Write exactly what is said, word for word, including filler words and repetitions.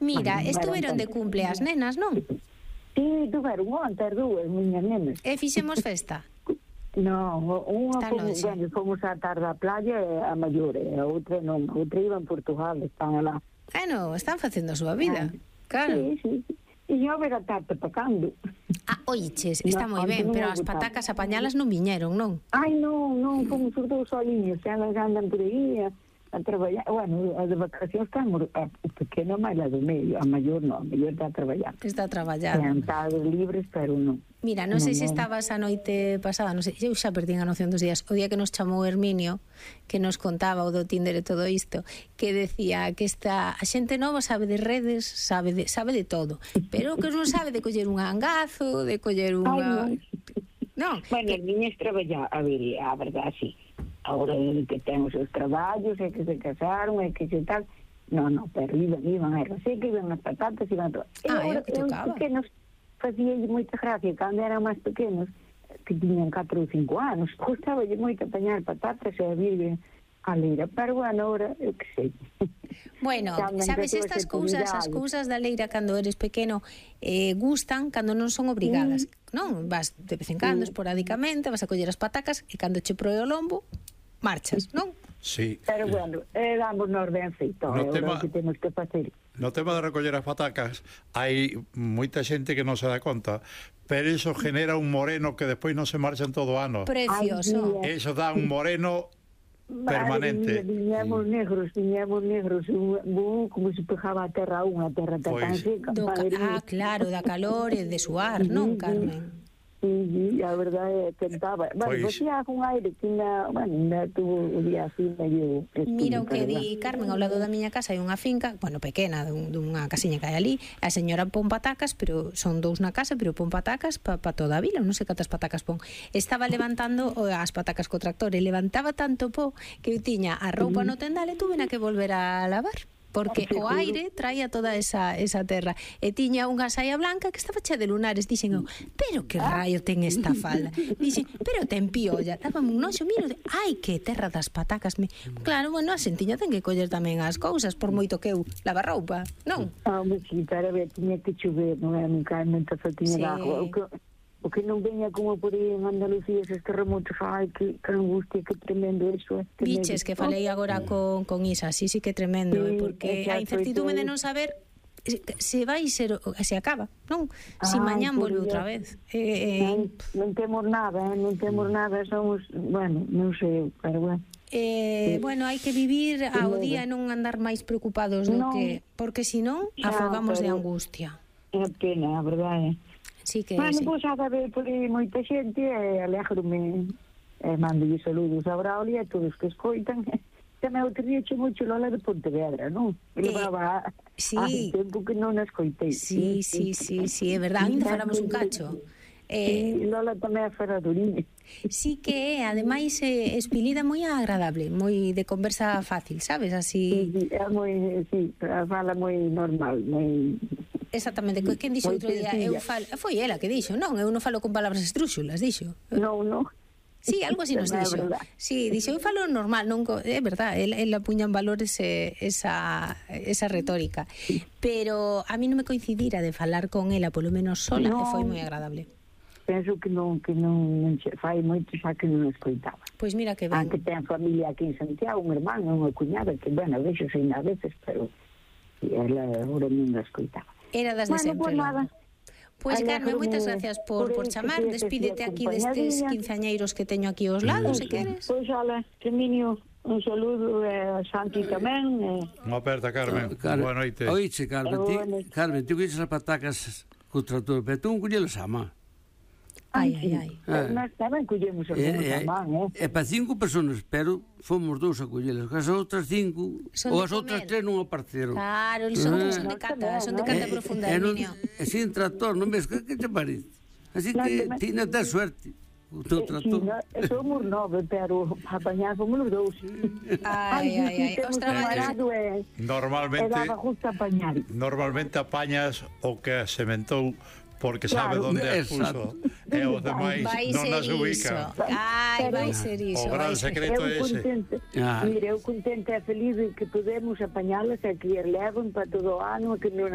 Mira, Bueno, estuveron de cumple as nenas, non? Sí, tuveron onte as dúas, miñas nenas. E fixemos festa. Non, unha Está fomos, lonxe. bueno, fomos á tarde á playa e a maior, e a outra non, a outra iba en Portugal, están alá. Bueno, están facendo a súa vida. Claro. Sí, sí, sí. E eu ver a tarde pacando. Ah, oiches, está No, moi onte ben, non pero me as gustaba. patacas apañalas non viñeron, non? Ai, non, non, fomos os dous soliños, elas andan por aí a, a traballar. Bueno, a de vacacións estamos, a, o pequeno máis a do medio, a maior non, a maior está a traballar. Está traballando. Sentados libres, pero non. Mira, non sei se Non, non. estabas a noite pasada, non sei, eu xa perdín a noción dos días, o día que nos chamou Herminio, que nos contaba o do Tinder e todo isto, que decía que esta a xente nova sabe de redes, sabe de, sabe de todo, pero que non sabe de coller un angazo, de coller unha... Ai, Non, non. Bueno, as miñas traballar, a ver, a verdade, sí. Agora que ten os seus traballos, é que se casaron, é que se tal... Non, non, pero iban, iban a erva seca, iban as patatas, iban todo. E Ah, é agora, o que tocaba. os pequenos, facía moita gracia, cando eran máis pequenos, que tiñan catro ou cinco anos, gustaba moito apañar patatas e a vir a leira, pero bueno, ahora, eu que sei. Bueno, Tamén sabes, que estas todas cousas, as actividades. cousas da leira cando eres pequeno eh, gustan cando non son obrigadas, non? Vas de vez en cando, Mm. esporádicamente, vas a coller as patacas e cando che proe o lombo, marchas, non? Sí. Pero bueno, eh, damos nos ben feito, No é tema- o que temos que facer. No tema de recoller as patacas, hai moita xente que non se dá conta, pero iso genera un moreno que despois non se marcha en todo o ano. Precioso. Ai, Eso dá un moreno permanente. Madre mía, viñamos negros, viñamos negros, un, un, como se pejaba a terra a unha terra tan Pois. seca. Do ca- madre ah, mía. claro, da calor e de suar, non, Carmen? Sí, sí, a verdade é que tentaba. Bueno, Pois. facía un aire que ainda, bueno, ainda tuvo o día así medio... Mira o que pero, di Carmen, ao lado da miña casa hai unha finca, bueno, pequena, dun, dunha casiña que hai ali, a señora pon patacas, pero son dous na casa, pero pon patacas para pa toda a vila, non sei cantas patacas pon. Estaba levantando o, as patacas co tractor e levantaba tanto po que eu tiña a roupa no tendal e tuve na que volver a lavar. Porque o aire traía toda esa, esa terra. E tiña unha saia blanca que estaba chea de lunares. Dixen eu, pero que raio ten esta falda? Dixen, pero ten piolla. Dábame un noxo, miro, ai, que terra das patacas. Me... Claro, bueno, a xentiña ten que coller tamén as cousas, por moito que eu lava roupa, non? Ah, mas sí, para ver, tiña que chover, non é? Nunca nunca só tiña Sí. de agua. O que, o que non veña como por aí en Andalucía, esos terremotos, ai, que, que angustia, que tremendo eso. É, Biches, que falei agora con, con Isa, sí, sí que tremendo, Sí, eh, porque exacto, a incertitude de eso é. non saber se- se vai ser, o- se acaba, non? Si Ai, mañán por volve Dios. outra vez. Eh, eh, Non, non temos nada, eh? non temos nada, somos, bueno, non sei, pero bueno. Eh, bueno, hai que vivir ao Logo. día e non andar máis preocupados do Non. que, porque senón Xa, afogamos de pero- angustia. É pena, a verdade. Sí que Bueno, sí. pois a ver por aí moita xente e alégrome e mando saludos a Braulio e a todos que escoitan. Tamén outro día che moito Lola de Pontevedra, non? Eh, Levaba sí. hai tempo que non a escoitei. Sí, sí, sí, sí, é verdade, ainda falamos un cacho. Eh, Eh, Lola tamén é ferraduriña. sí que é, ademais, é espilida moi agradable, moi de conversa fácil, sabes? Así, Sí, sí, é moi, sí, fala moi normal, moi... exactamente, que quen dixo Moi outro día, eu sencilla. falo, foi ela que dixo, non, eu non falo con palabras estrúxulas, dixo. Non, non. Sí, algo así nos É dixo. verdad. Sí, dixo, eu falo normal, non co... é verdade, el, el apuña en valor ese, esa, esa retórica. Pero a mí non me coincidira de falar con ela, polo menos sola, Non. e foi moi agradable. Penso que non, que non, non che- fai moito xa que non escoitaba. Pois mira que Ah, ben. que ten familia aquí en Santiago, un hermano, unha cuñada, que, bueno, vexo sen a veces, pero sí, ela agora non a escoitaba. Era das de Bueno, sempre. pues nada. Pois Carmen, Alégrome moitas gracias por, por por aí que chamar. tes Despídete aquí aquí destes acompañadinha. quinceañeiros que teño aquí aos lados, se queres. Pois, ala, Seminio, un saludo e a Santi tamén. E... Unha aperta, Carmen. Carmen, Boa noite. Oíche, Carmen, ti, Boa noite. Carmen, ti colles as patacas co trator, pero tú non collelas a má. Ai, ai, ai. Pero nós tamén collemos a É, é, man, eh? é para cinco personas, pero fomos dous a collelas. As outras cinco, Son ou de as outras comer. tres non apareceron. Claro, son, Ah. son de cata, son de Eh, cata profunda, E non, Herminio. e sin trator, non ves que, que te parece? Así Non, que tamén- ti non tes suerte. O teu Eh, trator. Sí, no, somos nove, pero apañar fomos os dous. Ai, ai, ai. Os Temos traballos... camarado e, e Normalmente daba justo apañar. normalmente apañas o que sementou porque sabe Claro. onde as Exacto. puso e os demais Vai non ser as ubican. iso. Ai, vai ser iso. O gran vai ser- secreto Eu é ese. contente, Ah. mire, eu contente e feliz de que podemos apañalas e que as levan para todo o ano e que non